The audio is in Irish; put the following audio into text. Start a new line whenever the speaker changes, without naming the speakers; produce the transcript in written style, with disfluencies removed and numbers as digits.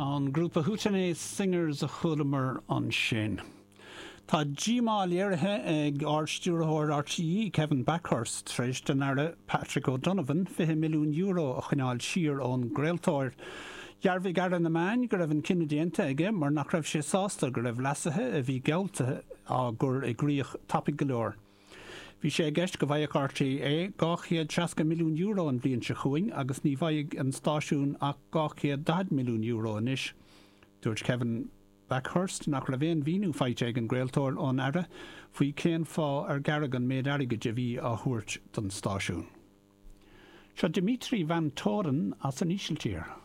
An grúpa Hootenay Singers a chualamar ansin. Tá díomá léirithe ag Ard-Stiúrthóir RTÉ, Kevin Bakhurst, tar éis don Aire Patrick O'Donovan €20 milliún a choinneáil siar ón gcraoltóir. Dhearbhaigh Aire na Meán go raibh an cinneadh déanta aige mar nach raibh sé sásta go raibh leasuithe a bhí geallta á gcur i gcrích tapaidh go leor. Bhí sé i gceist go bhfaigheadh RTÉ €260 milliún an bhliain seo chugainn agus ní bhfaighidh an stáisiún ach €240 milliún anois. Dúirt Kevin Bakhurst nach raibh aon mhíniú faighte ag an gcraoltóir ón Aire faoi cén fáth ar gearradh an méid airgid a bhí á thabhairt don stáisiún. Seo Dimitri van Toren as an Ísiltír.